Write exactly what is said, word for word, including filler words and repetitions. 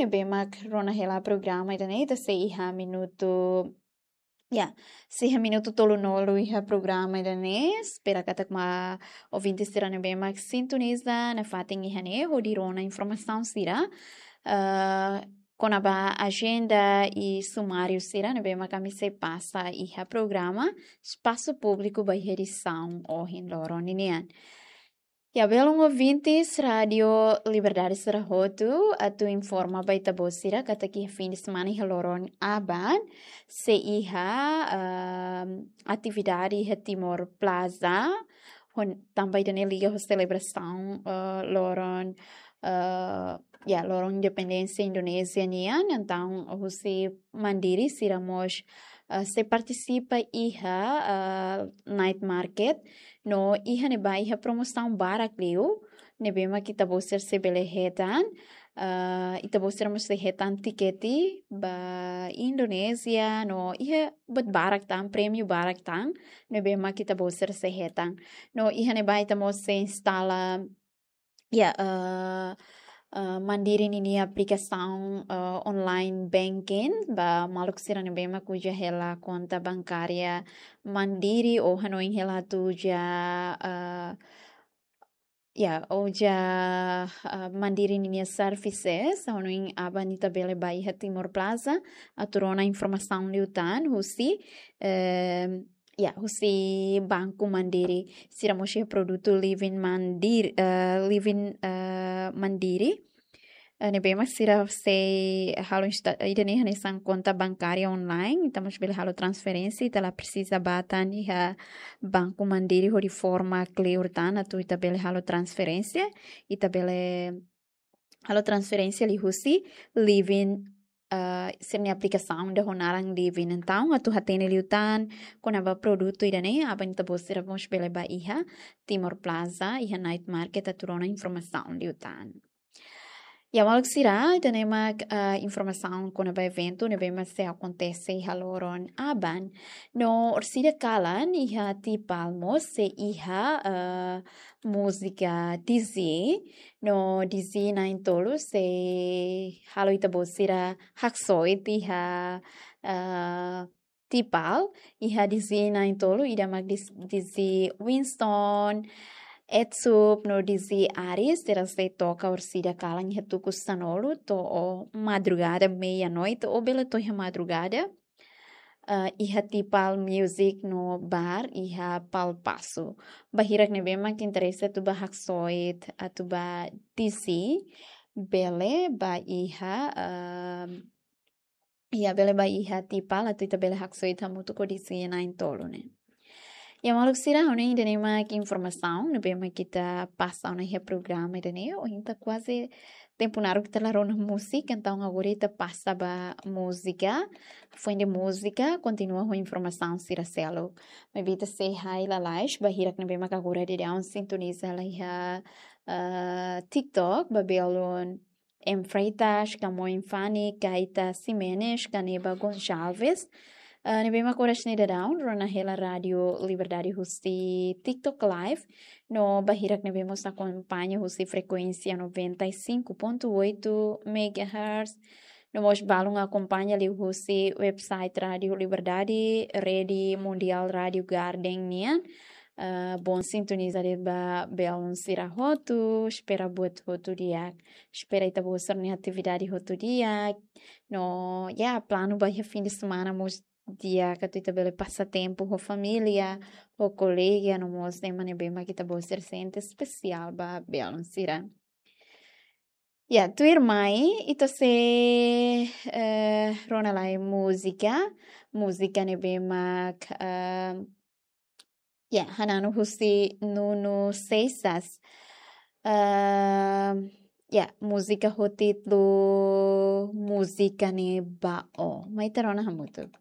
ne'ebé mak rona hela programa ida-ne'e, ita sei iha minutu, ya, sei iha minutu tolunulu iha programa ida-ne'e. Espera katak mak ouvinte sira ne'ebé mak sintoniza nafatin iha ne'e hodi rona informasaun sira, eh, kona-ba ajenda i sumáriu sira ne'ebé mak ami sei pasa iha programa Espasu Públiku ba iha edisaun ohin loron ninian. Ya, belun ouvintes Rádiu Liberdade sira hotu, atu informa ba ita-boot sira katak iha fin de semana iha loron aban sei iha, ehm, atividade iha Timor Plaza, hon-, tanba ida-ne'e liga ho selebrasaun, eh, loron, eh, ya, loron independénsia Indonézia nian, entaun husi Mandiri sira mós, eh, sei partisipa iha, eh, night market, no iha ne'ebá iha promosaun barak liu, ne'ebé mak ita-boot sira sei bele hetan, eh, ita-boot sira mós sei hetan tikete ba Indonézia, no iha buat barak tan, prémiu barak tan, ne'ebé mak ita-boot sira sei hetan. No iha ne'ebá ita mós sei instala, ya, eh, eh, Mandiri ninia aplikasaun, eh, online banking ba maluk sira ne'ebé mak uza hela konta bankária Mandiri ou hanoin hela atu uza, eh, ya, uza, eh, Mandiri ninia services, hanoin aban ita bele ba iha Timor Plaza atu rona informasaun liután husi, eh, ya, husi Banku Mandiri. Sira mós iha produtu Livin Mandiri, eh, Livin, eh, Mandiri. Eh, ne'ebé mak sira sei halo insta-, ida-ne'e hanesan konta bankária online, ita mós bele halo transferénsia, ita la presiza ba tan iha Banku Mandiri hodi forma kleur tan atu ita bele halo transferénsia, ita bele halo transferénsia liuhusi Livin, eh, sira-nia aplikasaun ida ho naran Livin. Entaun, atu hatene liután kona-ba produtu ida-ne'e, aban ita-boot sira mós bele ba iha Timor Plaza, iha night market atu rona informasaun liután. Ya, maluk sira, ida-ne'e mak, eh, informasaun kona-ba eventu ne'ebé mak sei akontese iha loron aban. No orsida kalan iha Tipal mós sei iha, eh, múzika D J, no D J na'in-tolu sei halo ita-boot sira haksoit iha, eh, Tipal, iha D J na'in-tolu, ida mak D J, D J Winston, Etsup, no D J Aris, sira sei toka orsida kalan iha tuku sanulu to'o madrugada, meia-noite, ou bele to'o iha madrugada. Eh, iha Tipal Music no Bar, iha Pal Pasu. Ba hirak ne'ebé mak interese atu ba haksoit, atu ba D J, bele ba iha, ehm, ya, bele ba iha Tipal atu ita bele haksoit hamutuk ho D J na'in-tolu ne'e. Ya, maluk sira, ha'u hanoin ida-ne'e mak informasaun ne'ebé mak ita pasa ona iha programa ida-ne'e. Ohin ita kuaze tempu naruk ita la rona múzika, entaun agora ita pasa ba múzika. Foin de múzika, kontinua ho informasaun sira seluk. Maibé ita sei hai lalais ba hirak ne'ebé mak agora daudaun sintoniza hela iha, eh, TikTok, ba belun M Freitas, Camões Fani, Caita Ximenes, Caneba Gonçalves. Eh, ne'ebé mak oras ne'e daudaun rona hela Rádiu Liberdade husi TikTok Live. No ba hirak ne'ebé mós akompaña husi frekuénsia noventa e cinco ponto oito megahertz. No mós balun akompaña liuhusi website Rádiu Liberdade, Rede Mundial Rádiu Garden nian. Eh, bom sintoniza de'it ba belun sira hotu, espera buat hotu di'ak. Espera ita-boot sira-nia atividade hotu di'ak. No, ya, planu ba iha fin de semana mós di'ak atu ita bele pasa tempu ho família, ho kolega, no mós ema ne'ebé mak ita-boot sira sente espesiál ba belun sira. Ya, tuirmai, ita sei, eh, rona lai múzika, múzika ne'ebé mak, eh, ya, hananu husi Nuno Seixas. Eh, ya, múzika ho títulu Múzika ne'e ba ó. Mai ita rona hamutuk.